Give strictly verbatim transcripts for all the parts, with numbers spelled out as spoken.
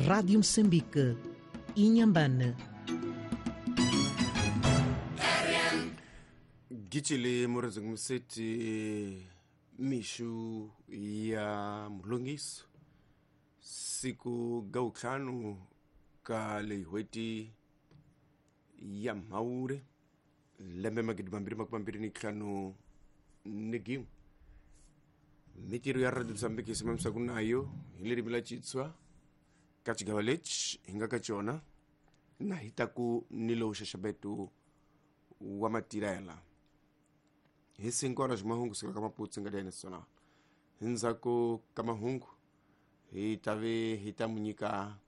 Rádio Moçambique, Inhambane. Gitshile Morozong Mseti mishu ya mulongiso siku gautlhanu ka lehweti ya Mhaure lembe magidi mambirhi makumambirhi ni ntlhanu ni gin'we. Mitirho ya Radio Mozambique simamisaka nayo hi ririmi la Xitswa ka xigava lexi hi nga ka xona na hi ta ku ni lowu xaxameto wa matirhela hi cinco horas mahungu sika ka Maputo nga nacional. Ndzhaku ka mahungu hi ta ve hi ta mu nyika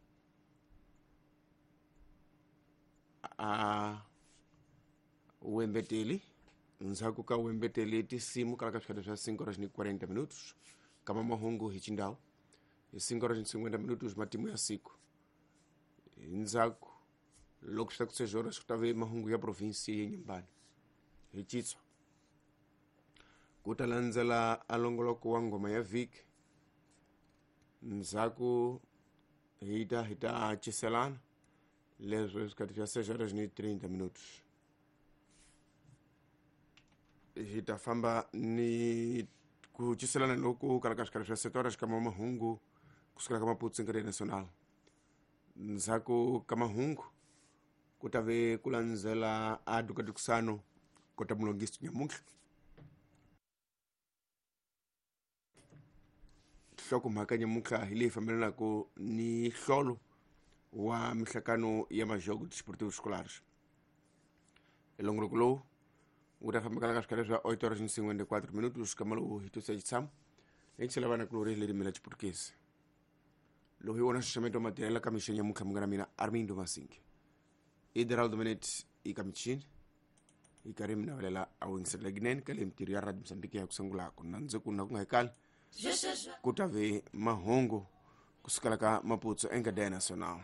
a wembeteli. Ndzhaku ka wembeteli tinsimu kala ka swikhati swa cinco horas ni quarenta minutos kama mahungu hi xindhawu hi cinco horas ni cinquenta minutos matimu ya siku. Ndzhaku loko swi ta ku seis horas ku ta ve mahungu ya provinsi ya Inhambane hi Xitswa. Ku ta landzela a longoloko wa ngoma ya vhiki. Ndzhaku hi ta hi ta ciselana leswi swikhati swa seis horas ni trinta minutos. Hi ta famba ni ku ciselana loku kala ka swikhati swa sete horas kama mahungu kusukela ka Maputo nkarhi nacional. Ndzhaku ka mahungu ku ta ve ku landzela a dukadukusano kota mulongisi nyamuntlha. Nhlokomhaka nyamuntlha hi leyi fambelanaka ni nhlolo wa mihlakano ya majogo desportivos escolares. Elongoloko lowu wu ta famba ka swikhati swa oito horas ni cinquenta e quatro minutos kama lowu hi tusa xitshamo lexi lavana kulori hi ririmi la Xiputukezi. Lowu hi wona nxaxameto wa matirhela ka mixo nyamuntlha munghana mina Armindo Masingi. Ideraldo Menet eka michini hi karhi mi navelela a wingisela ginene ka le mitirho ya Radio Mozambique ya ku sungulaka na ndzi ku na ku nga hikali ku ta ve mahungu kusukela ka Maputo encadeia nacional.